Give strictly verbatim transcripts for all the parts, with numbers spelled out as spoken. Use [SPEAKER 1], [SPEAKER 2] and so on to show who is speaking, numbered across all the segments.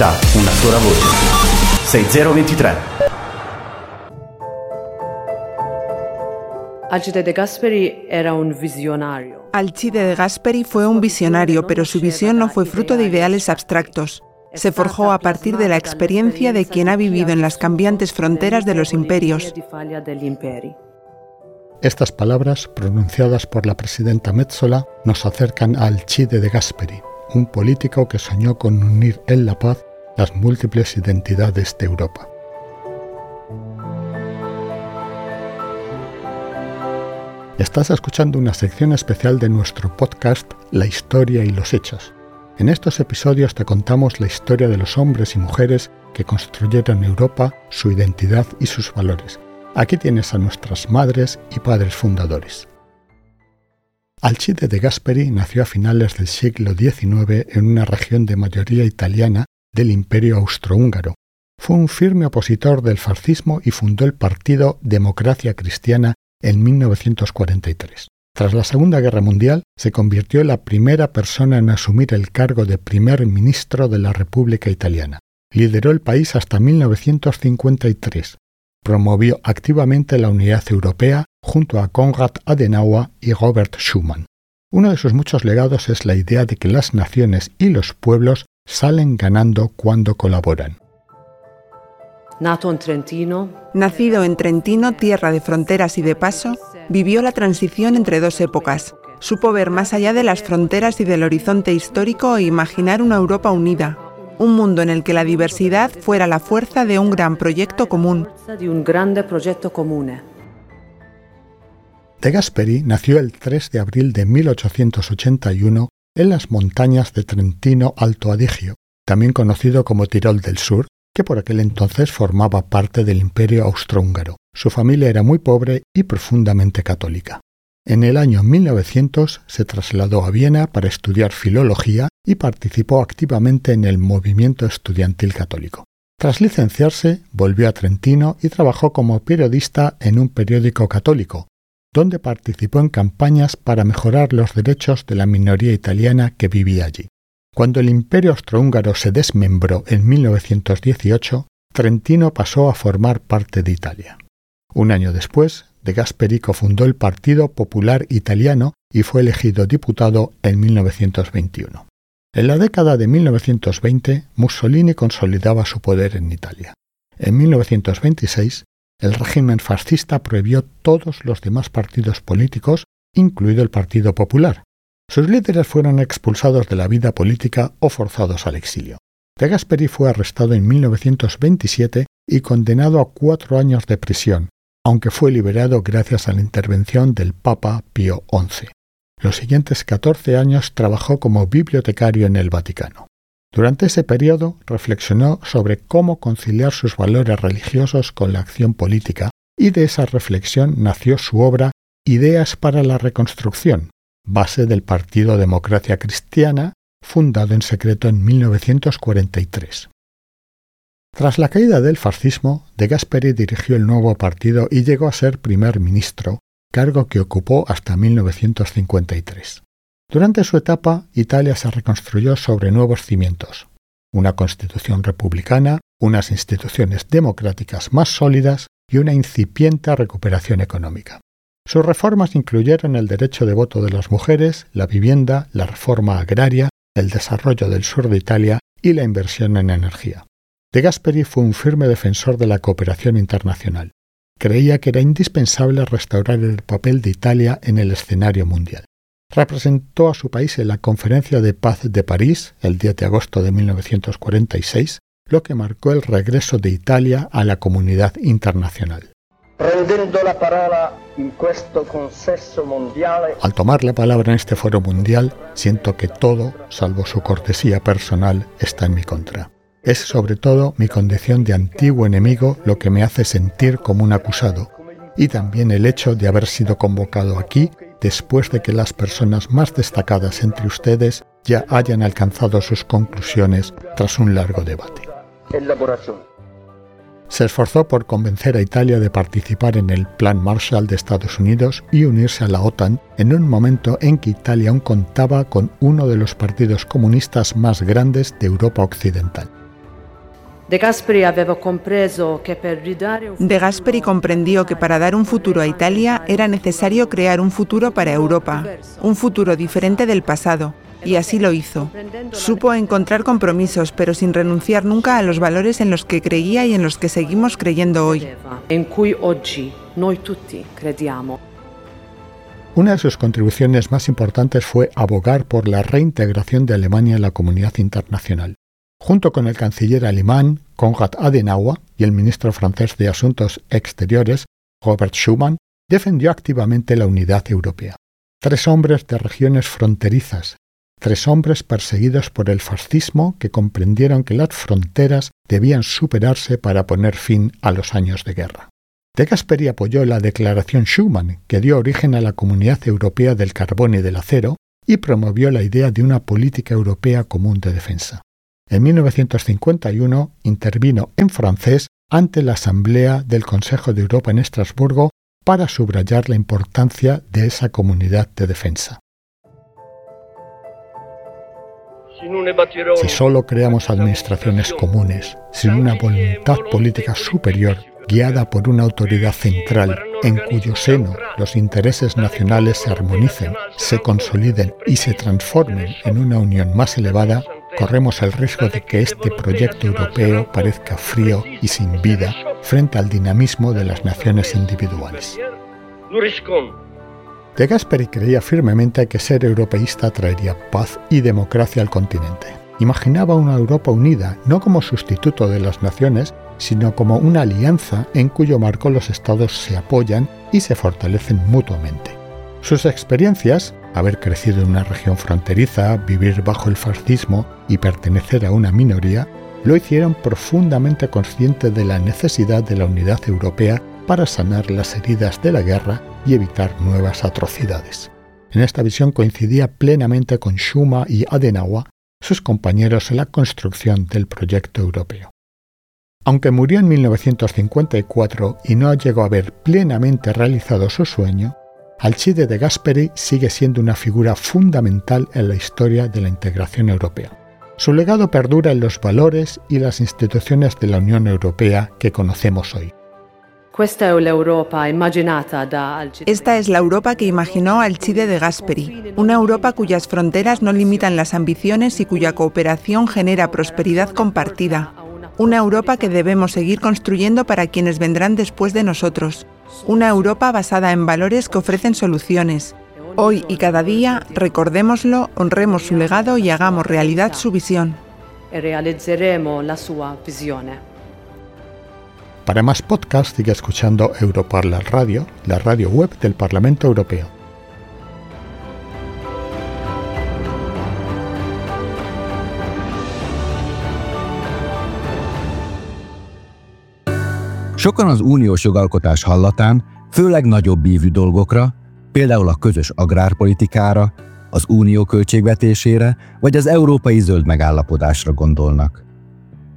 [SPEAKER 1] Una sola voce. sei zero ventitré.
[SPEAKER 2] Alcide De Gasperi era un visionario.
[SPEAKER 3] Alcide De Gasperi fue un visionario, pero su visión no fue fruto de ideales abstractos. Se forjó a partir de la experiencia de quien ha vivido en las cambiantes fronteras de los imperios.
[SPEAKER 4] Estas palabras, pronunciadas por la presidenta Metsola, nos acercan a Alcide De Gasperi, un político que soñó con unir en la paz las múltiples identidades de Europa. Estás escuchando una sección especial de nuestro podcast La Historia y los Hechos. En estos episodios te contamos la historia de los hombres y mujeres que construyeron Europa, su identidad y sus valores. Aquí tienes a nuestras madres y padres fundadores. Alcide De Gasperi nació a finales del siglo diecinueve en una región de mayoría italiana del Imperio Austrohúngaro. Fue un firme opositor del fascismo y fundó el partido Democracia Cristiana en mil novecientos cuarenta y tres. Tras la Segunda Guerra Mundial, se convirtió en la primera persona en asumir el cargo de primer ministro de la República Italiana. Lideró el país hasta mil novecientos cincuenta y tres. Promovió activamente la unidad europea junto a Konrad Adenauer y Robert Schuman. Uno de sus muchos legados es la idea de que las naciones y los pueblos salen ganando cuando colaboran.
[SPEAKER 2] Nato en Trentino.
[SPEAKER 3] Nacido en Trentino, tierra de fronteras y de paso, vivió la transición entre dos épocas. Supo ver más allá de las fronteras y del horizonte histórico e imaginar una Europa unida, un mundo en el que la diversidad fuera la fuerza de un gran proyecto común.
[SPEAKER 4] De Gasperi nació el tres de abril de mil ochocientos ochenta y uno en las montañas de Trentino Alto Adigio, también conocido como Tirol del Sur, que por aquel entonces formaba parte del Imperio Austrohúngaro. Su familia era muy pobre y profundamente católica. En el año mil novecientos se trasladó a Viena para estudiar filología y participó activamente en el movimiento estudiantil católico. Tras licenciarse, volvió a Trentino y trabajó como periodista en un periódico católico, donde participó en campañas para mejorar los derechos de la minoría italiana que vivía allí. Cuando el Imperio Austrohúngaro se desmembró en mil novecientos dieciocho, Trentino pasó a formar parte de Italia. Un año después, De Gasperi cofundó el Partido Popular Italiano y fue elegido diputado en mil novecientos veintiuno. En la década de mil novecientos veinte, Mussolini consolidaba su poder en Italia. En mil novecientos veintiséis, el régimen fascista prohibió todos los demás partidos políticos, incluido el Partido Popular. Sus líderes fueron expulsados de la vida política o forzados al exilio. De Gasperi fue arrestado en mil novecientos veintisiete y condenado a cuatro años de prisión, aunque fue liberado gracias a la intervención del Papa Pío once. Los siguientes catorce años trabajó como bibliotecario en el Vaticano. Durante ese periodo reflexionó sobre cómo conciliar sus valores religiosos con la acción política y de esa reflexión nació su obra Ideas para la Reconstrucción, base del Partido Democracia Cristiana, fundado en secreto en mil novecientos cuarenta y tres. Tras la caída del fascismo, De Gasperi dirigió el nuevo partido y llegó a ser primer ministro, cargo que ocupó hasta mil novecientos cincuenta y tres. Durante su etapa, Italia se reconstruyó sobre nuevos cimientos: una constitución republicana, unas instituciones democráticas más sólidas y una incipiente recuperación económica. Sus reformas incluyeron el derecho de voto de las mujeres, la vivienda, la reforma agraria, el desarrollo del sur de Italia y la inversión en energía. De Gasperi fue un firme defensor de la cooperación internacional. Creía que era indispensable restaurar el papel de Italia en el escenario mundial. Representó a su país en la Conferencia de Paz de París, el diez de agosto de mil novecientos cuarenta y seis, lo que marcó el regreso de Italia a la comunidad internacional.
[SPEAKER 5] Prendendo la parola in questo consesso mondiale.
[SPEAKER 4] Al tomar la palabra en este foro mundial, siento que todo, salvo su cortesía personal, está en mi contra. Es sobre todo mi condición de antiguo enemigo lo que me hace sentir como un acusado, y también el hecho de haber sido convocado aquí después de que las personas más destacadas entre ustedes ya hayan alcanzado sus conclusiones tras un largo debate. Se esforzó por convencer a Italia de participar en el Plan Marshall de Estados Unidos y unirse a la OTAN en un momento en que Italia aún contaba con uno de los partidos comunistas más grandes de Europa Occidental.
[SPEAKER 2] De Gasperi aveva compreso che per ridare un
[SPEAKER 3] De Gasperi comprendió que para dar un futuro a Italia era necesario crear un futuro para Europa, un futuro diferente del pasado, y así lo hizo. Supo encontrar compromisos, pero sin renunciar nunca a los valores en los que creía y en los que seguimos creyendo hoy.
[SPEAKER 2] In cui oggi noi tutti crediamo.
[SPEAKER 4] Una de sus contribuciones más importantes fue abogar por la reintegración de Alemania en la comunidad internacional. Junto con el canciller alemán Konrad Adenauer y el ministro francés de Asuntos Exteriores, Robert Schuman, defendió activamente la unidad europea. Tres hombres de regiones fronterizas, tres hombres perseguidos por el fascismo que comprendieron que las fronteras debían superarse para poner fin a los años de guerra. De Gasperi apoyó la Declaración Schuman, que dio origen a la Comunidad Europea del Carbón y del Acero, y promovió la idea de una política europea común de defensa. En mil novecientos cincuenta y uno intervino en francés ante la Asamblea del Consejo de Europa en Estrasburgo para subrayar la importancia de esa comunidad de defensa. Si solo creamos administraciones comunes, sin una voluntad política superior, guiada por una autoridad central en cuyo seno los intereses nacionales se armonicen, se consoliden y se transformen en una unión más elevada, corremos el riesgo de que este proyecto europeo parezca frío y sin vida frente al dinamismo de las naciones individuales. De Gasperi creía firmemente que ser europeísta traería paz y democracia al continente. Imaginaba una Europa unida, no como sustituto de las naciones, sino como una alianza en cuyo marco los estados se apoyan y se fortalecen mutuamente. Sus experiencias, haber crecido en una región fronteriza, vivir bajo el fascismo y pertenecer a una minoría, lo hicieron profundamente consciente de la necesidad de la unidad europea para sanar las heridas de la guerra y evitar nuevas atrocidades. En esta visión coincidía plenamente con Schuman y Adenauer, sus compañeros en la construcción del proyecto europeo. Aunque murió en mil novecientos cincuenta y cuatro y no llegó a ver plenamente realizado su sueño, Alcide de Gasperi sigue siendo una figura fundamental en la historia de la integración europea. Su legado perdura en los valores y las instituciones de la Unión Europea que conocemos hoy.
[SPEAKER 3] Esta es la Europa que imaginó Alcide de Gasperi, una Europa cuyas fronteras no limitan las ambiciones y cuya cooperación genera prosperidad compartida. Una Europa que debemos seguir construyendo para quienes vendrán después de nosotros. Una Europa basada en valores que ofrecen soluciones. Hoy y cada día, recordémoslo, honremos su legado y hagamos realidad su visión.
[SPEAKER 2] E realizzeremo la sua visione.
[SPEAKER 4] Para más podcasts, sigue escuchando Europarla Radio, la radio web del Parlamento Europeo.
[SPEAKER 6] Sokan az uniós jogalkotás hallatán, főleg nagyobb ívű dolgokra, például a közös agrárpolitikára, az unió költségvetésére vagy az európai zöld megállapodásra gondolnak.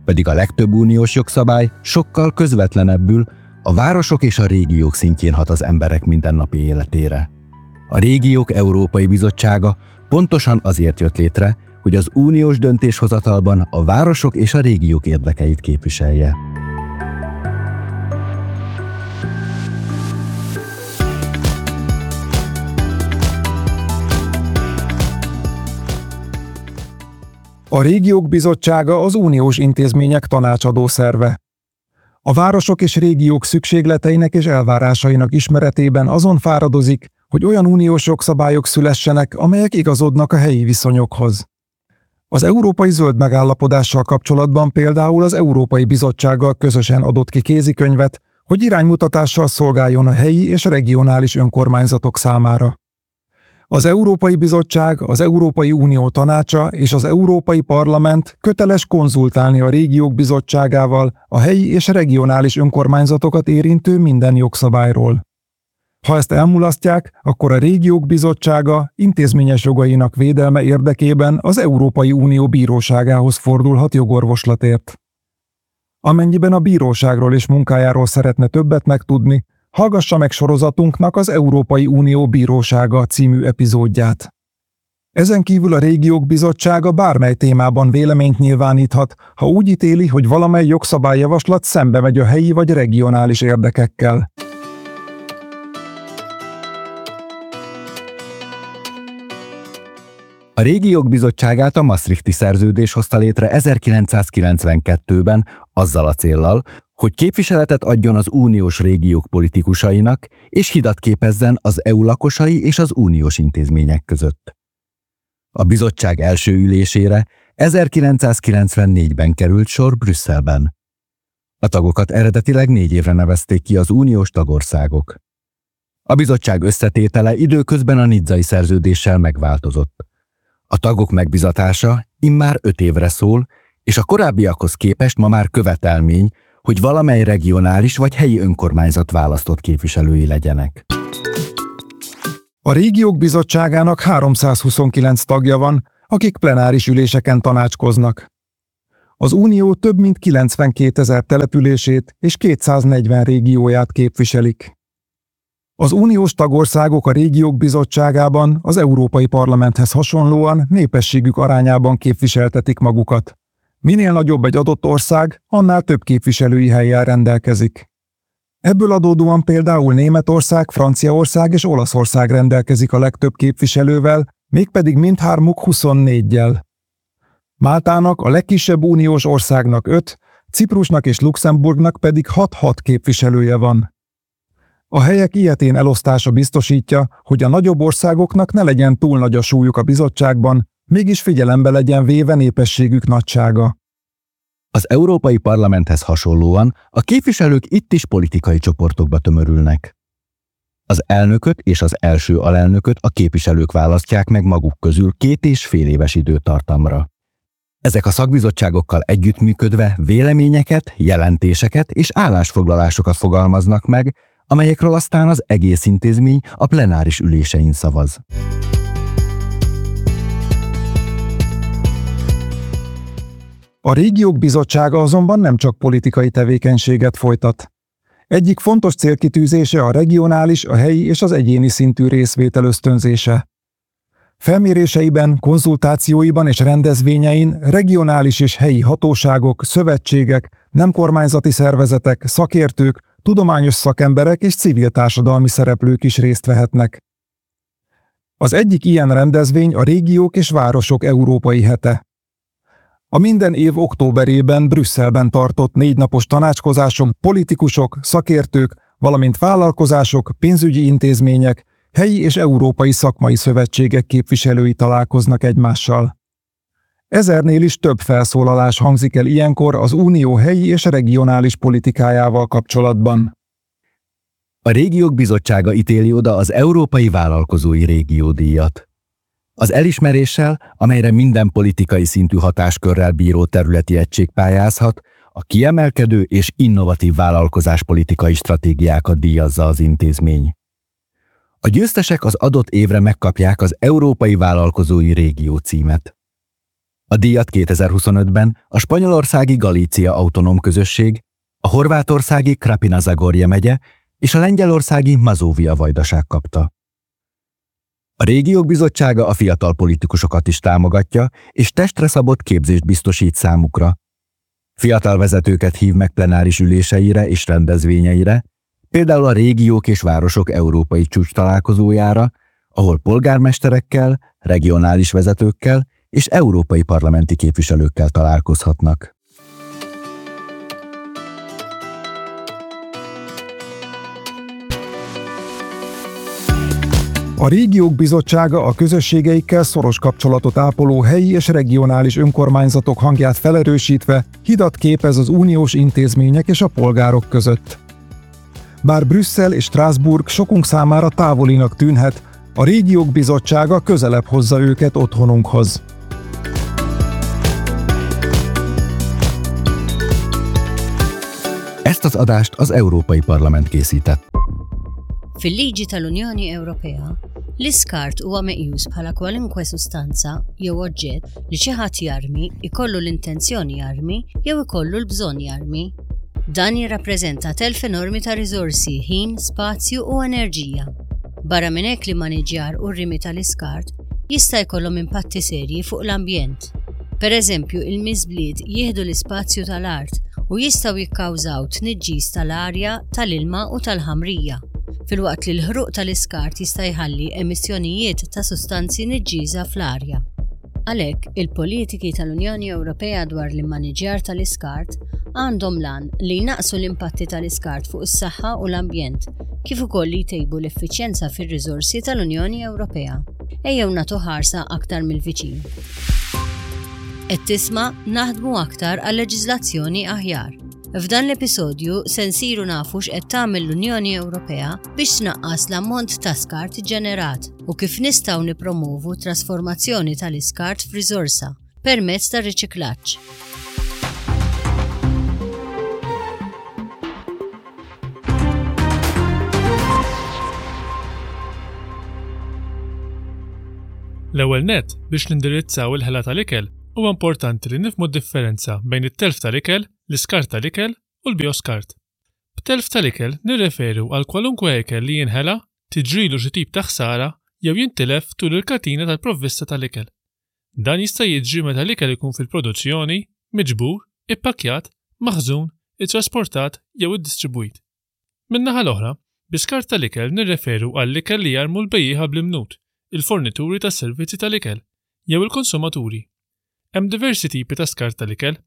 [SPEAKER 6] Pedig a legtöbb uniós jogszabály sokkal közvetlenebbül a városok és a régiók szintjén hat az emberek mindennapi életére. A Régiók Európai Bizottsága pontosan azért jött létre, hogy az uniós döntéshozatalban a városok és a régiók érdekeit képviselje.
[SPEAKER 7] A Régiók Bizottsága az uniós intézmények tanácsadó szerve. A városok és régiók szükségleteinek és elvárásainak ismeretében azon fáradozik, hogy olyan uniós jogszabályok szülessenek, amelyek igazodnak a helyi viszonyokhoz. Az Európai Zöld Megállapodással kapcsolatban például az Európai Bizottsággal közösen adott ki kézikönyvet, hogy iránymutatással szolgáljon a helyi és regionális önkormányzatok számára. Az Európai Bizottság, az Európai Unió Tanácsa és az Európai Parlament köteles konzultálni a Régiók Bizottságával a helyi és regionális önkormányzatokat érintő minden jogszabályról. Ha ezt elmulasztják, akkor a Régiók Bizottsága intézményes jogainak védelme érdekében az Európai Unió Bíróságához fordulhat jogorvoslatért. Amennyiben a bíróságról és munkájáról szeretne többet megtudni, hallgassa meg sorozatunknak az Európai Unió Bírósága című epizódját. Ezen kívül a Régiók Bizottsága bármely témában véleményt nyilváníthat, ha úgy ítéli, hogy valamely jogszabályjavaslat szembe megy a helyi vagy regionális érdekekkel.
[SPEAKER 6] A Régiók Bizottságát a Maastrichti Szerződés hozta létre ezerkilencszázkilencvenkettőben azzal a céllal, hogy képviseletet adjon az uniós régiók politikusainak, és hidat képezzen az é u lakosai és az uniós intézmények között. A bizottság első ülésére ezerkilencszázkilencvennégyben került sor Brüsszelben. A tagokat eredetileg négy évre nevezték ki az uniós tagországok. A bizottság összetétele időközben a Nizzai Szerződéssel megváltozott. A tagok megbizatása immár öt évre szól, és a korábbiakhoz képest ma már követelmény, hogy valamely regionális vagy helyi önkormányzat választott képviselői legyenek.
[SPEAKER 7] A Régiók Bizottságának háromszázhuszonkilenc tagja van, akik plenáris üléseken tanácskoznak. Az Unió több mint kilencvenkétezer települését és kétszáznegyven régióját képviselik. Az uniós tagországok a Régiók Bizottságában az Európai Parlamenthez hasonlóan népességük arányában képviseltetik magukat. Minél nagyobb egy adott ország, annál több képviselői hellyel rendelkezik. Ebből adódóan például Németország, Franciaország és Olaszország rendelkezik a legtöbb képviselővel, mégpedig mindhármuk huszonnéggyel. Máltának, a legkisebb uniós országnak öt, Ciprusnak és Luxemburgnak pedig hat-hat képviselője van. A helyek ilyetén elosztása biztosítja, hogy a nagyobb országoknak ne legyen túl nagy a súlyuk a bizottságban, mégis figyelembe legyen véve népességük nagysága.
[SPEAKER 6] Az Európai Parlamenthez hasonlóan a képviselők itt is politikai csoportokba tömörülnek. Az elnököt és az első alelnököt a képviselők választják meg maguk közül két és fél éves időtartamra. Ezek a szakbizottságokkal együttműködve véleményeket, jelentéseket és állásfoglalásokat fogalmaznak meg, amelyekről aztán az egész intézmény a plenáris ülésein szavaz.
[SPEAKER 7] A Régiók Bizottsága azonban nem csak politikai tevékenységet folytat. Egyik fontos célkitűzése a regionális, a helyi és az egyéni szintű részvétel ösztönzése. Felméréseiben, konzultációiban és rendezvényein regionális és helyi hatóságok, szövetségek, nemkormányzati szervezetek, szakértők, tudományos szakemberek és civil társadalmi szereplők is részt vehetnek. Az egyik ilyen rendezvény a Régiók és Városok Európai Hete. A minden év októberében Brüsszelben tartott négynapos tanácskozáson politikusok, szakértők, valamint vállalkozások, pénzügyi intézmények, helyi és európai szakmai szövetségek képviselői találkoznak egymással. Ezernél is több felszólalás hangzik el ilyenkor az unió helyi és regionális politikájával kapcsolatban.
[SPEAKER 6] A Régiók Bizottsága ítéli oda az Európai Vállalkozói Régió díjat. Az elismeréssel, amelyre minden politikai szintű hatáskörrel bíró területi egység pályázhat, a kiemelkedő és innovatív vállalkozáspolitikai stratégiákat díjazza az intézmény. A győztesek az adott évre megkapják az Európai Vállalkozói Régió címet. A díjat kétezer-huszonötben a spanyolországi Galícia Autonóm Közösség, a horvátországi Krapina-Zagorje megye és a lengyelországi Mazóvia Vajdaság kapta. A Régiók Bizottsága a fiatal politikusokat is támogatja, és testre szabott képzést biztosít számukra. Fiatal vezetőket hív meg plenáris üléseire és rendezvényeire, például a Régiók és Városok Európai Csúcstalálkozójára, ahol polgármesterekkel, regionális vezetőkkel és európai parlamenti képviselőkkel találkozhatnak.
[SPEAKER 7] A Régiók Bizottsága a közösségeikkel szoros kapcsolatot ápoló helyi és regionális önkormányzatok hangját felerősítve hidat képez az uniós intézmények és a polgárok között. Bár Brüsszel és Strasbourg sokunk számára távolinak tűnhet, a Régiók Bizottsága közelebb hozza őket otthonunkhoz.
[SPEAKER 6] Ezt az adást az Európai Parlament készített.
[SPEAKER 8] Fil-liġi tal-Unjoni Ewropea, l-iskart huwa meqjus bħala kwalunkwe sustanza jew oġġett li xi ħadd jarmi, ikollu l-intenzjoni jarmi jew ikollu l-bżonn jarmi. Dan jirrappreżenta telf enormi ta' riżorsi, ħin, spazju u enerġija. Barra minn hekk li maniġjar u r-rimi tal-iskart jista' jkollhom impatti serji fuq l-ambjent. Pereżempju, il-miżbliet jieħdu l-ispazju tal-art u jistgħu jikkawżaw tniġġis tal-arja, tal-ilma u tal-ħamrija, filwaqt li l-ħruq tal-iskart jista' jħalli emissjonijiet ta' sustanzi niġġiesa fl-arja. Għalhekk, il-politiki tal-Unjoni Ewropea dwar l-immaniġjar tal-iskart għandhom l-għan li jnaqqsu l-impatti tal-iskart fuq is-saħħa u l-ambjent, kif ukoll li jtejbu l-effiċjenza fir-riżorsi tal-Unjoni Ewropea. Ejjew nagħtu ħarsa aktar mill-viċin. Qed tisma' naħdmu aktar għal leġiżlazzjoni aħjar. F'dan l-episodju se nsiru nafu x'qed tagħmel l-Unjoni Ewropea biex tnaqqas l-ammont ta' skart ġenerat u kif nistgħu nippromovu trasformazzjoni tal-iskart f'riżorsa permezz tar-riċiklaġġ.
[SPEAKER 9] L-ewwel nett, biex nindirizzaw il-ħela tal-ikel, huwa importanti li nifhmu d-differenza bejn it-telf tal-ikel, l-iskart tal-ikel u l-bioskart. B'telf tal-ikel nirreferu għal kwalunkwe ikel li jinħela, tiġrilu xi tip ta' ħsara jew jintilef tul il-katina tal-provvista tal-ikel. Dan jista' jiġri meta l-ikel ikun fil-produzzjoni, miġbur, ippakkjat, maħżun, ittrasportat jew iddistribwit. Min-naħa l-oħra, bi skart tal-ikel nirreferu għall-ikel li jarmu l-bejjieħa bl-imnut, il-fornituri tas-servizzi tal-ikel, jew il-konsumaturi. Hemm diversi tipi ta' skart tal-ikel,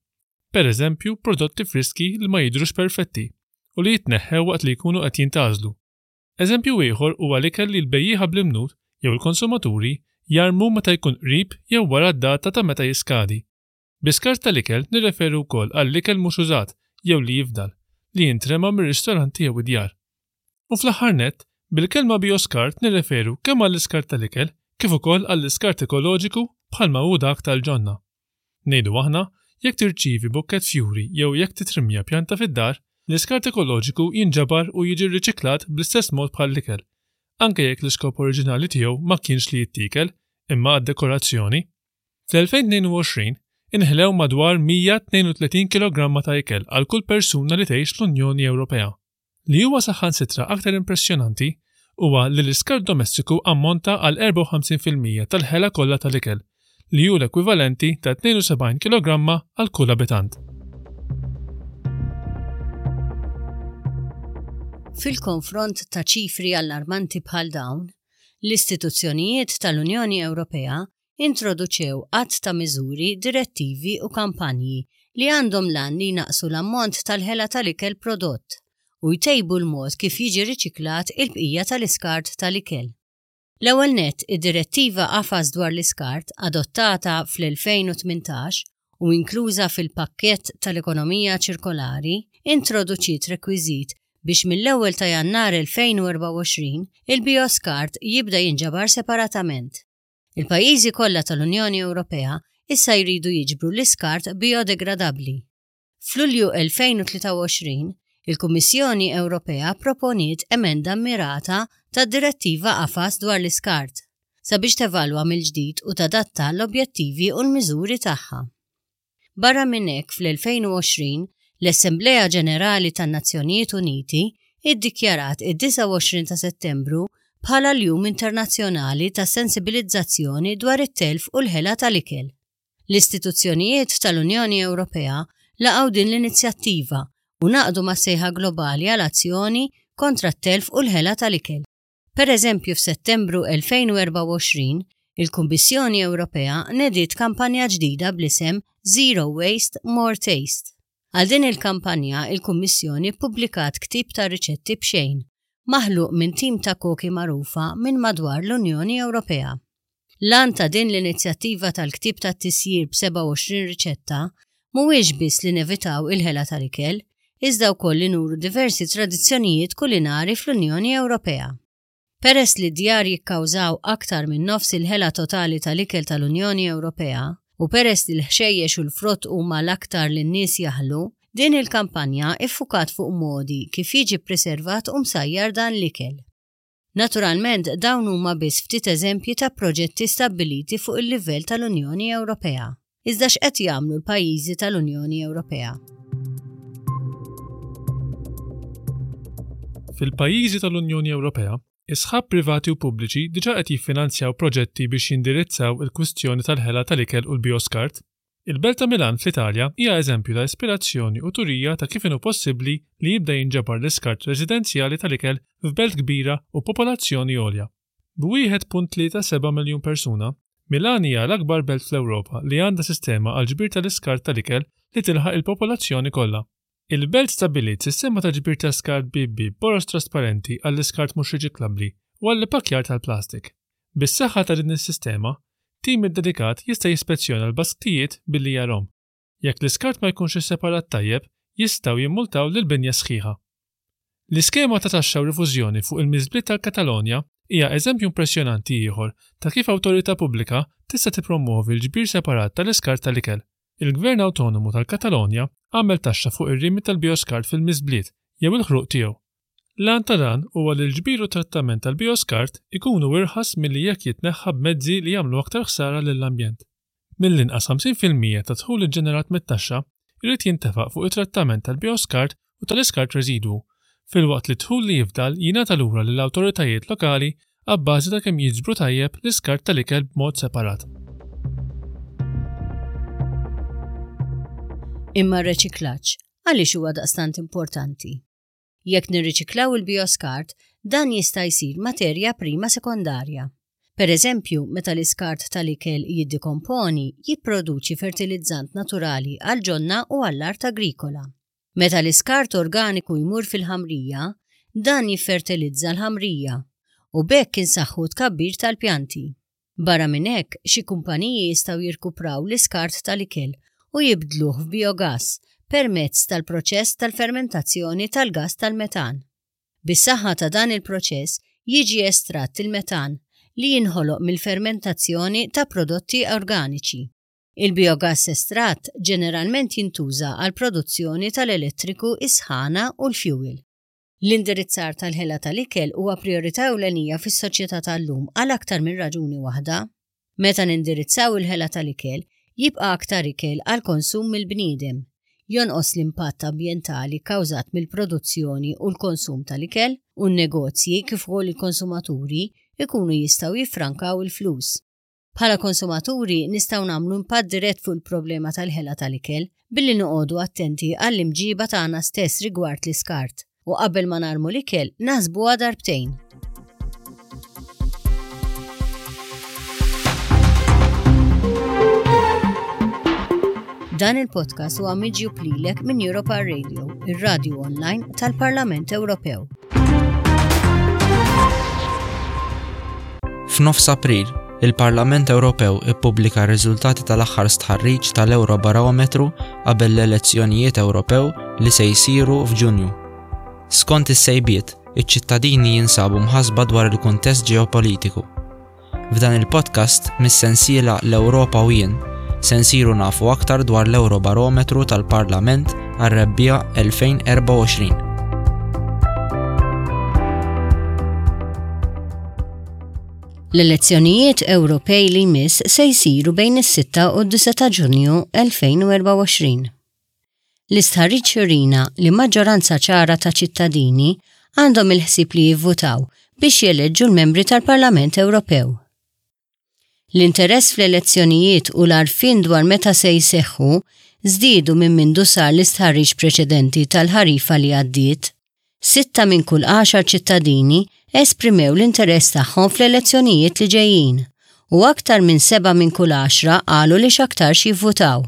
[SPEAKER 9] per eżempju prodotti friski li ma jidhrux perfetti u li jitneħħew waqt li jkunu qed jintgħażlu. Eżempju ieħor huwa l-ikel li l-bejjieħa bl-imnut jew il-konsumaturi jarmu meta jkun qrib jew wara d-data ta' meta jiskadi. Bi skart tal-ikel nirreferu wkoll għall-ikel mhux użat jew li jifdal, li jintrema mir-ristoranti jew id-djar. U fl-aħħar nett, bil-kelma bioskart nirreferu kemm għall-iskart tal-ikel kif ukoll għall-iskart ekoloġiku bħalma hu dak tal-ġonna. Ngħidu aħna, jekk tirċievi bukkett fjuri jew jekk titrimja pjanta fid-dar, l-iskart ekoloġiku jinġabar u jiġi rriċiklat bl-istess mod bħall-ikel, anke jekk l-iskop oriġinali tiegħu ma kienx li jittiekel imma għad-dekorazzjoni. Fl-elfejn tnejn u għoxrin inħlew madwar mija tnejn u tletin kilogramma ta' ikel għal kull persuna li tgħix l-Unjoni Ewropea. Li huwa saħansitra aktar impressjonanti huwa li l-iskart domestiku ammonta għal erbgħa u ħamsin fil-mija tal-ħela kollha tal-ikel, li hu l-ekwivalenti ta' tnejn u sebgħin kilogramma għal kull abitant.
[SPEAKER 8] Fil-konfront ta' ċifri allarmanti bħal dawn, l-istituzzjonijiet tal-Unjoni Ewropea introduċew għadd ta' miżuri, direttivi u kampanji li għandhom l-għan li jnaqqsu l-ammont tal-ħela tal-ikel prodott u jtejbu l-mod kif jiġi riċiklat il-bqija tal-iskart tal-ikel. L-ewwel nett, id-direttiva qafas dwar l-iskart adottata fl-elfejn u tmintax u inkluża fil-pakkett tal-ekonomija ċirkolari introduċiet rekwiżit biex mill-ewwel ta' Jannar elfejn u erbgħa u għoxrin il-bioskart jibda jinġabar separatament. Il-pajjiżi kollha tal-Unjoni Ewropea issa jridu jiġbru l-iskart biodegradabbli. F'Lulju elfejn u tlieta u għoxrin, il-Kummissjoni Ewropea proponiet emenda mirata tad-direttiva qafas dwar l-iskart sabiex tevalwa mill-ġdid u tadatta l-objettivi u l-miżuri tagħha. Barra minn hekk fl-elfejn u għoxrin, l-Assemblea Ġenerali tan-Nazzjonijiet Uniti iddikjarat id-disgħa u għoxrin ta' Settembru bħala l-Jum Internazzjonali ta' Sensibilizzazzjoni dwar it-telf u l-ħela tal-ikel. L-istituzzjonijiet tal-Unjoni Ewropea laqgħu din l-inizjattiva u naqdu ma' sejħa globali għal azzjoni kontra t-telf u l-ħela tal-ikel. Per eżempju, f'Settembru elfejn u erbgħa u għoxrin, il-Kummissjoni Ewropea nediet kampanja ġdida bl-isem Zero Waste, More Taste. Għal din il-kampanja, il-Kummissjoni ppubblikat ktieb ta' riċetti b'xejn, maħluq minn tim ta' koki magħrufa minn madwar l-Unjoni Ewropea. L-għan ta' din l-inizjattiva tal-ktieb tat-tisjir b'sebgħa u għoxrin riċetta mhuwiex biss li nevitaw il-ħela tal-ikel, iżda wkoll li nuru diversi tradizzjonijiet kulinari fl-Unjoni Ewropea. Peress li d-djar jikkawżaw aktar minn nofs il-ħela totali tal-ikel tal-Unjoni Ewropea u peress li l-ħxejjex u l-frott huma l-aktar li n-nies jaħlu, din il-kampanja iffukat fuq modi kif jiġi ppreservat u msajjar dan l-ikel. Naturalment, dawn huma biss ftit eżempji ta' proġetti stabbiliti fuq il-livell tal-Unjoni Ewropea. Iżda x'qed jagħmlu l-pajjiżi tal-Unjoni Ewropea?
[SPEAKER 9] Fil-pajjiżi tal-Unjoni Ewropea, Is-sħab privati u pubbliċi diġà qed jiffinanzjaw proġetti biex jindirizzaw il-kwistjoni tal-ħela tal-ikel u l-bioskart. Il-Belt ta' Milan fl-Italja hija eżempju ta' ispirazzjoni u turija ta' kif inhu possibbli li jibda jinġabar l-iskart residenzjali tal-ikel f'belt kbira u popolazzjoni għolja. B'wieħed punt tlieta seba' miljun persuna, Milan hija l-akbar belt fl-Ewropa li għandha sistema għal ġbir tal-iskart tal-ikel li tilħaq il-popolazzjoni kollha. Il-belt stabbiliet sistema ta' ġbir ta' skart bieb bieb boroż trasparenti għall-iskart mhux riċiklabbli u għall-ippakkjar tal-plastik. Bis-saħħa ta' din is-sistema, tim iddedikat jista' jispezzjona l-basktijiet billi jarahom. Jekk l-iskart ma jkunx isseparat tajjeb, jistgħu jimmultaw lill-binja sħiħa. L-iskema ta' taxxa u rifużjoni fuq il-miżbliet tal-Katalonja hija eżempju impressjonanti ieħor ta' kif awtorità pubblika tista' tippromwovi l-ġbir separat tal-iskart tal-ikel. Il-Gvern Awtonomu tal-Katalonja għamel taxxa fuq ir-rimi tal-bioskart fil-miżbliet jew il-ħruq tiegħu. L-għan ta' dan huwa li l-ġbir u trattament tal-bioskart ikunu irħas milli jekk jitneħħa b'mezzi li jagħmlu aktar ħsara lill-ambjent. Mill-inqas ħamsin fil-mija ta' dħul iġġenerat mit-taxxa jrid jintefaq fuq it-trattament tal-bioskart u tal-iskart residwu, filwaqt li dħul li jifdal jingħata lura lill-awtoritajiet lokali abbażi ta' kemm jiġbru tajjeb l-iskart tal-ikel b'mod separat.
[SPEAKER 8] Imma r-reċiklaġġ għaliex huwa daqstant importanti? Jekk nirriċiklaw il-bioskart, dan jista' jsir materja prima sekondarja. Per eżempju, meta l-iskart tal-ikel jiddikomponi, jipproduċi fertilizzant naturali għal ġonna u għall-art agrikola. Meta l-iskart organiku jmur fil-ħamrija, dan jiffertilizza l-ħamrija u b'hekk insaħħu tkabbir tal-pjanti. Barra minn hekk, xi kumpaniji jistgħu jirkupraw l-iskart tal-ikel u jibdluh f'biogas permezz tal-proċess tal-fermentazzjoni tal-gas tal-metan. Bis-saħħa ta' dan il-proċess jiġi estratt il-metan li jinħoloq mill-fermentazzjoni ta' prodotti organiċi. Il-biogas estratt ġeneralment jintuża għal produzzjoni tal-elettriku, is-sħana u l-fuel. L-indirizzar tal-ħela tal-ikel huwa priorità ewlenija fis-soċjetà tal-lum għal aktar minn raġuni waħda. Meta nindirizzaw il-ħela tal-ikel, jibqa' aktar ikel għal konsum mill-bniedem, jonqos l-impatt ambjentali kkawżat mill-produzzjoni u l-konsum tal-ikel, u n-negozji kif ukoll il-konsumaturi ikunu jistgħu jiffrankaw il-flus. Bħala konsumaturi nistgħu nagħmlu impatt dirett fuq il-problema tal-ħela tal-ikel billi noqogħdu attenti għall-imġiba tagħna stess rigward l-iskart u qabel ma narmu l-ikel naħsbuha darbtejn. Dan il-podcast huwa miġjub lilek minn Europa Radio, ir-radju online tal-Parlament Ewropew.
[SPEAKER 10] F'nofs April, il-Parlament Ewropew ippubblika r-riżultati tal-aħħar stħarriġ tal-Eurobarometru qabel l-elezzjonijiet Ewropew li se jsiru f'Ġunju. Skont is-sejbiet, iċ-ċittadini jinsabu mħassba dwar il-kuntest ġeopolitiku. F'dan il-podcast mis-sensiela l-Ewropa u jien se nsiru nafu aktar dwar l-Eurobarometru tal-Parlament għar-rebbiegħa elfejn erbgħa u għoxrin.
[SPEAKER 8] L-elezzjonijiet Ewropej li jmiss se jsiru bejn is-sitta u d-disa ta' Ġunju elfejn u erbgħa u għoxrin. L-istħarriġ jurina li maġġoranza ċara ta' ċittadini għandhom il-ħsieb li jivvutaw biex jeleġġu l-membri tal-Parlament Ewropew. L-interess fl-elezzjonijiet u l-għarfien dwar meta se jseħħu żdiedu minn mindu sar l-istħarriġ preċedenti tal-ħarifa li għaddiet. Sitta minn kull għaxar ċittadini esprimew l-interess tagħhom fl-elezzjonijiet li ġejjin u aktar minn seba' minn kull għaxra qalu li x'aktarx jivvutaw.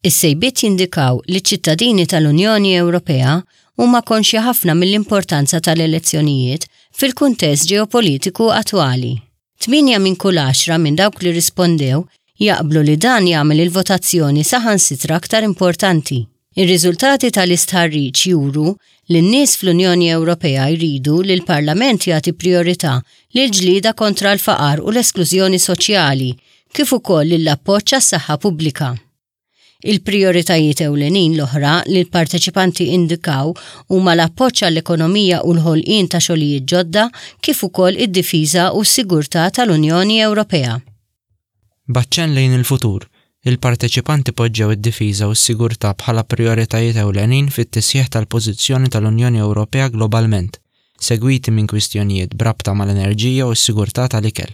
[SPEAKER 8] Is-sejbiet jindikaw li ċ-ċittadini tal-Unjoni Ewropea huma konxji ħafna mill-importanza tal-elezzjonijiet fil-kuntest ġeopolitiku attwali. Tminja minn kull għaxra minn dawk li rispondew jaqblu li dan jagħmel il-votazzjoni saħansitra aktar importanti. Ir-riżultati tal-istħarriġ juru li n-nies fl-Unjoni Ewropea jridu li l-Parlament jagħti priorità lil ġlieda kontra l-faqar u l-esklużjoni soċjali, kif ukoll lill-appoġġ għas-saħħa pubblika. Il-prijoritajiet ewlenin l-oħra li l-parteċipanti indikaw huma l-appoġġ għall-ekonomija u l-ħolqien ta' xogħlijiet ġodda kif ukoll id-difiża u s-sigurtà tal-Unjoni Ewropea.
[SPEAKER 10] B'aċċenn lejn il-futur, il-parteċipanti poġġew id-difiża u s-sigurtà bħala prijoritajiet ewlenin fit-tisħiħ tal-pożizzjoni tal-Unjoni Ewropea globalment, segwiti minn kwistjonijiet b'rabta mal-enerġija u s-sigurtà tal-ikel.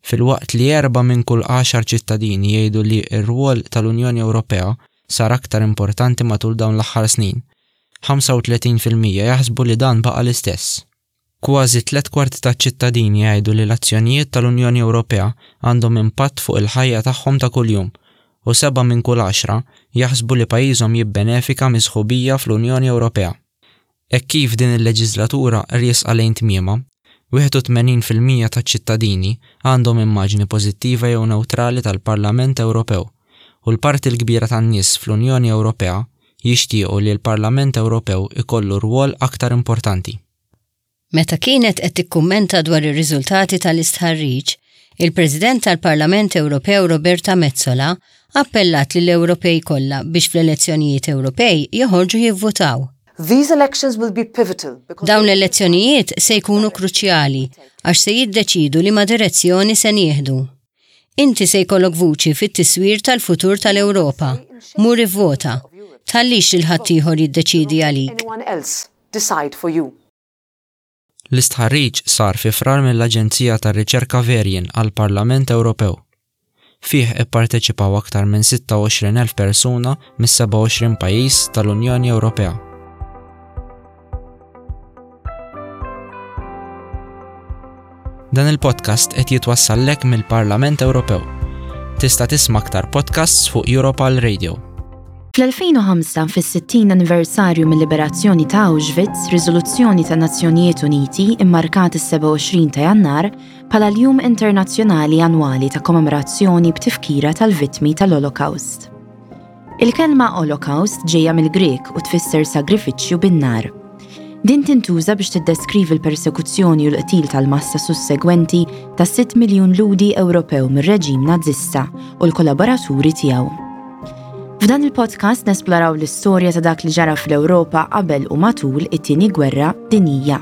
[SPEAKER 10] Filwaqt li erba' minn kull għaxar ċittadini jgħidu li r-rwol tal-Unjoni Ewropea sar aktar importanti matul dawn l-aħħar snin, ħamsa u tletin fil-mija jaħsbu li dan baqa' l-istess. Kważi tliet kwarti taċ-ċittadini jgħidu li l-azzjonijiet tal-Unjoni Ewropea għandhom impatt fuq il-ħajja tagħhom ta' kuljum u seba' minn kull għaxra jaħsbu li pajjiżhom jibbenefika mis-sħubija fl-Unjoni Ewropea. Hekk kif din il-leġislatura riesqa lejn tmiemha, wieħed u tmenin fil-mija taċ-ċittadini għandhom immaġni pożittiva jew newtrali tal-Parlament Ewropew u l-parti l-kbira tan-nies fl-Unjoni Ewropea jixtiequ li l-Parlament Ewropew ikollu rwol aktar importanti.
[SPEAKER 8] Meta kienet qed tikkummenta dwar ir-riżultati tal-istħarriġ, il-President tal-Parlament Ewropew Roberta Metsola appellat lill-Ewropej kollha biex fl-elezzjonijiet Ewropej joħorġu jivvutaw.
[SPEAKER 2] These elections will be pivotal because
[SPEAKER 8] Dawn l-elezzjonijiet se jkunu kruċjali għax se jiddeċidu liema direzzjoni se nieħdu. Inti se jkollok vuċi fit-tiswir tal-futur tal-Ewropa. Mur ivvota. Tħallix lil ħaddieħor jiddeċidi għalik.
[SPEAKER 2] Anyone else decide for you.
[SPEAKER 10] L-istħarriġ sar fi Frar mill-Aġenzija tar-Riċerka Verian għall-Parlament Ewropew. Fih ipparteċipaw aktar minn sitta u għoxrin elf persuna mis-sebgħa u għoxrin pajjiż tal-Unjoni Ewropea. Dan il-podcast qed jitwassallek mill-Parlament Ewropew. Tista' tisma' aktar podcasts fuq Europarl Radio.
[SPEAKER 11] Fl-elfejn u ħamsa, fis-sittin anniversarju mill-liberazzjoni ta' Auschwitz, riżoluzzjoni ta' Nazzjonijiet Uniti immarkat is-sebgħa u għoxrin ta' Jannar bħala l-Jum Internazzjonali Annwali ta' Kommemorazzjoni b'tifkira tal-vittmi tal-Holocaust. Il-kelma Holocaust ġejja mill-Grek u tfisser sagrifiċċju bin-nar. Din tintuża biex tiddeskrivi l-persekuzzjoni u l-qtil tal-massa sussegwenti ta' sitt miljun Lhudi Ewropew mir-reġim Nazzista u l-kollaboraturi tiegħu. F'dan il-podcast nesploraw l-istorja ta' dak li ġara fl-Ewropa qabel u matul it-tieni gwerra dinjija.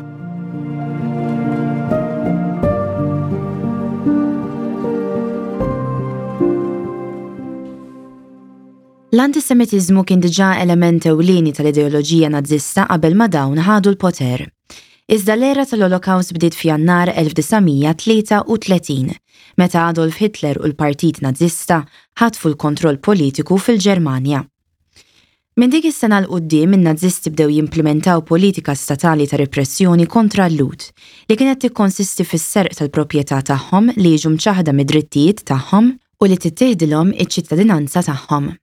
[SPEAKER 11] L-antisemitiżmu kien diġà element ewlieni tal-ideoloġija nazzista qabel ma dawn ħadu l-poter. Iżda l-era tal-Holocaust bdiet f'Jannar elf disa' mija tlieta u tletin, meta Adolf Hitler u l-Partit Nazzista ħatfu l-kontroll politiku fil-Ġermanja. Minn dik is-sena 'l quddiem in-Nazisti bdew jimplementaw politika statali ta' repressjoni kontra l-Lhud, li kienet tikkonsisti fis-serq tal-proprjetà tagħhom li jiġu mċaħda mid-drittijiet tagħhom u li tittieħdilhom iċ-ċittadinanza tagħhom.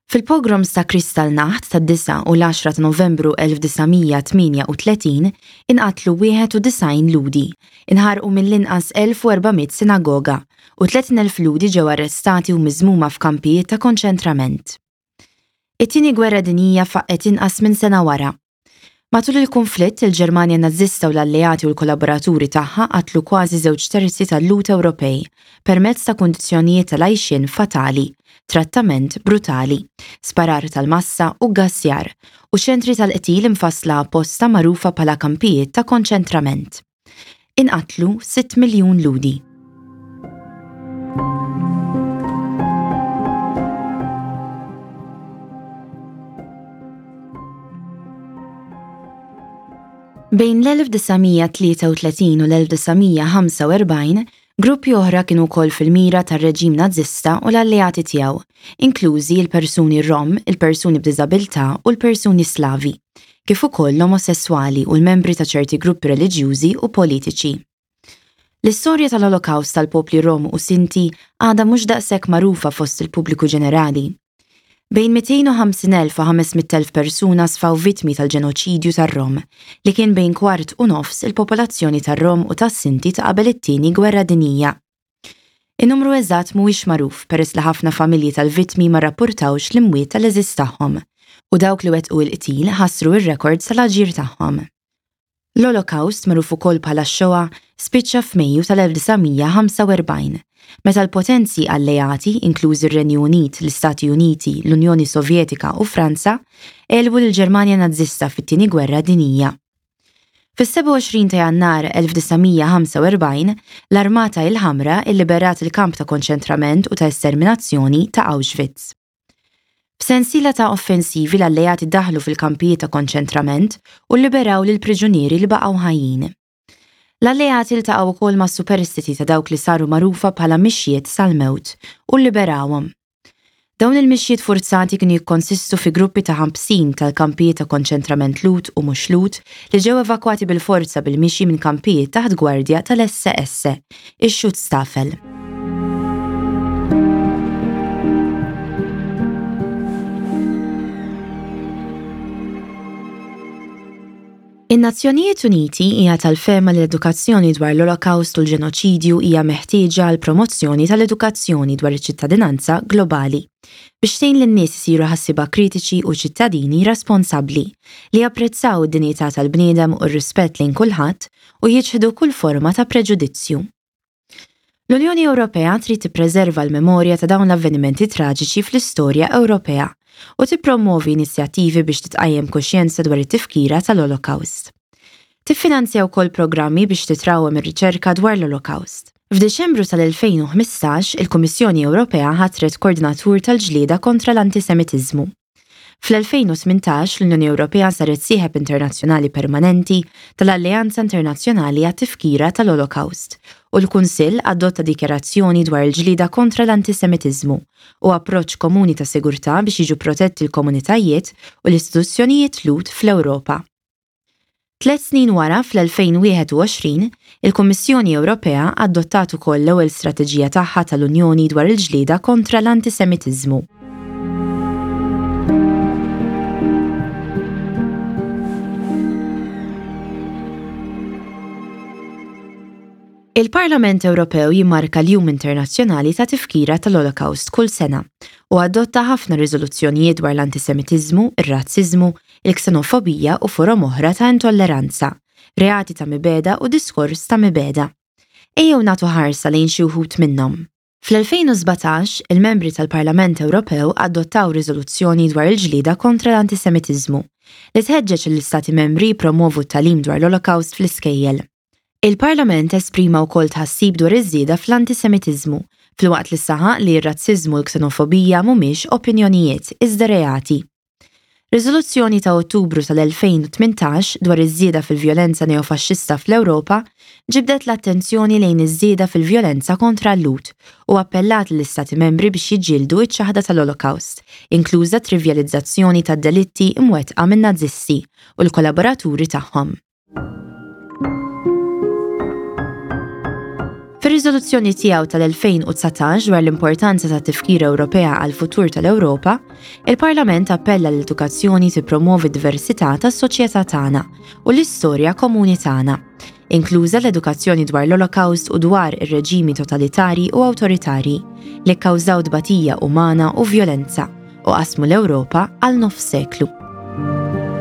[SPEAKER 11] Fil-pogroms ta' Kristallnacht tad-disa u l-għaxra ta' Novembru elf disa' mija tmienja u tletin inqatlu wieħed u disgħin Lhudi, inħarqu mill-inqas elf u erba' mitt sinagoga u tletin elf Lhudi ġew arrestati u miżmuma f'kampijiet ta' konċentrament. It-tieni gwerra dinjija faqqet inqas minn sena wara. Matul il-konflitt, il-Ġermanja Nazzista u l-alleati u l-kollaboraturi tagħha qatlu kważi żewġ terzi tal-Lhud Ewropej permezz ta' kundizzjonijiet tal-għajxien fatali, trattament brutali, sparar tal-massa u gassjar u ċentri tal-qtil imfassla apposta magħrufa bħala kampijiet ta' konċentrament. Inqatlu sitt miljun Lhudi. Bejn l-elf disa' mija tlieta u tletin u l-elf disa' mija ħamsa u erbgħin, gruppi oħra kienu wkoll fil-mira tar-reġim Nazzista u l-alleati tiegħu, inklużi l-persuni Rom, il-persuni b'diżabilità u l-persuni Slavi, kif ukoll l-omosessuali u l-membri ta' ċerti gruppi reliġjużi u politiċi. L-istorja tal-Holocaust tal-popli Rom u Sinti għadha mhux daqshekk magħrufa fost il-pubbliku ġenerali. Bejn mitejn u ħamsin elf u ħames mitt elf persuna sfaw vittmi tal-ġenoċidju tar-Rom, li kien bejn kwart u nofs il-popolazzjoni tar-Rom u tas-Sinti ta' qabel it-tieni gwerra dinjija. In-numru eżatt mhuwiex magħruf peress li ħafna familji tal-vittmi ma rrappurtawx l-imwiet tal-eżis tagħhom u dawk li wettqu l-qtil ħassru r-rekords tal-aġir tagħhom. L-Holocaust, magħruf ukoll bħala Shoah, spiċċa f'Mejju tal-elf disa' mija ħamsa u erbgħin, meta l-potenzi alleati, inklużi r-Renju Unit, l-Istati Uniti, l-Unjoni Sovjetika u Franza, għelbu lill-Ġermanja Nazzista fit-tieni gwerra dinjija. Fis-sebgħa u għoxrin ta' Jannar elf disa' mija ħamsa u erbgħin, l-Armata il-Ħamra illiberat il-kamp ta' konċentrament u ta' esterminazzjoni ta' Auschwitz. F'sensiela ta' offensivi l-alleati daħlu fil-kampijiet ta' konċentrament u lliberaw lill-priġunieri li baqgħu ħajjin. L-alleati ltaqgħu wkoll ma' superstiti ta' dawk li saru magħrufa bħala mixjiet sal-mewt u lliberawhom. Dawn il-mixjiet forzati kienu jikkonsistu fi gruppi ta' ħamsin tal-kampijiet ta' konċentrament Lhud u mhux Lhud li ġew evakwati bil-forza bil-mixi minn kampijiet taħt gwardja tal-S S, ix-Schutzstaffel. In-Nazzjonijiet Uniti hija tal-fehma li l-edukazzjoni dwar l-Olokawst u l-ġenoċidju hija meħtieġa għal promozzjoni tal-edukazzjoni dwar iċ-ċittadinanza globali biex tgħin lin-nies isiru ħassiba kritiċi u ċittadini responsabbli li japprezzaw id-dinjità tal-bniedem u r-rispett lejn kulħadd u jiċħdu kull forma ta' preġudizzju. L-Unjoni Ewropea trid tippreserva l-memorja ta' dawn l-avvenimenti traġiċi fl-istorja Ewropea u tippromovi inizjattivi biex titqajjem kuxjenza dwar it-tifkira tal-Olokawst. Tiffinanzja wkoll programmi biex titrawwem ir-riċerka dwar l-Olokawst. F'Diċembru tal-elfejn u ħmistax, il-Kummissjoni Ewropea ħatret koordinatur tal-ġlieda kontra l-antisemitiżmu. Fl-elfejn u tmintax l-Unjoni Ewropea saret sieħeb internazzjonali permanenti tal-Alleanza Internazzjonali għat-Tifkira tal-Olokawst u l-Kunsill adotta dikjarazzjoni dwar il-ġlieda kontra l-antisemitiżmu u approċċ komuni ta' sigurtà biex jiġu protetti l-komunitajiet u l-istituzzjonijiet Lhud fl-Ewropa. Tlet snin wara, fl-elfejn u wieħed u għoxrin, il-Kummissjoni Ewropea adottat ukoll l-ewwel strateġija tagħha tal-Unjoni dwar il-ġlieda kontra l-antisemitiżmu. Il-Parlament Ewropew jimmarka l-Jum Internazzjonali ta' Tifkira tal-Olokawst kull sena u adotta ħafna riżoluzzjonijiet dwar l-antisemitiżmu, ir-razziżmu, il-ksenofobija u forom oħra ta' intolleranza, reati ta' mibegħda u diskors ta' mibegħda. Ejjew nagħtu ħarsa lejn xi wħud minnhom. Fl-elfejn u sbatax, il-membri tal-Parlament Ewropew adottaw riżoluzzjoni dwar il-ġlieda kontra l-antisemitiżmu li tħeġġeġ l-Istati membri jippromovu t-tagħlim dwar l-Olokawst fl-iskejjel. Il-Parlament esprima wkoll tħassib dwar iż-żieda fl-antisemitiżmu, filwaqt li saħaq li r-razziżmu u l-ksenofobija mhumiex opinjonijiet iżda reati. Riżoluzzjoni ta' Ottubru tal-elfejn u tmintax dwar iż-żieda fil-vjolenza neofaxxista fl-Ewropa ġibdet l-attenzjoni lejn iż-żieda fil-vjolenza kontra l-Lhud u appellat lill-Istati membri biex jiġġieldu iċ-ċaħda tal-Olokawst, inkluża trivjalizzazzjoni tad-delitti imwettqa min-Nazisti u l-kollaboraturi tagħhom. Fir-riżoluzzjoni tiegħu tal-elfejn u dsatax dwar l-importanza ta' tifkira Ewropea għal futur tal-Ewropa, il-Parlament appella l-edukazzjoni tippromovi diversità tas-soċjetà tagħna u l-istorja komuni tagħna, inkluża l-edukazzjoni dwar l-Olokawst u dwar ir-reġimi totalitarji u awtoritarji li kkawżaw tbatija umana u vjolenza u qasmu l-Ewropa għal nofs seklu.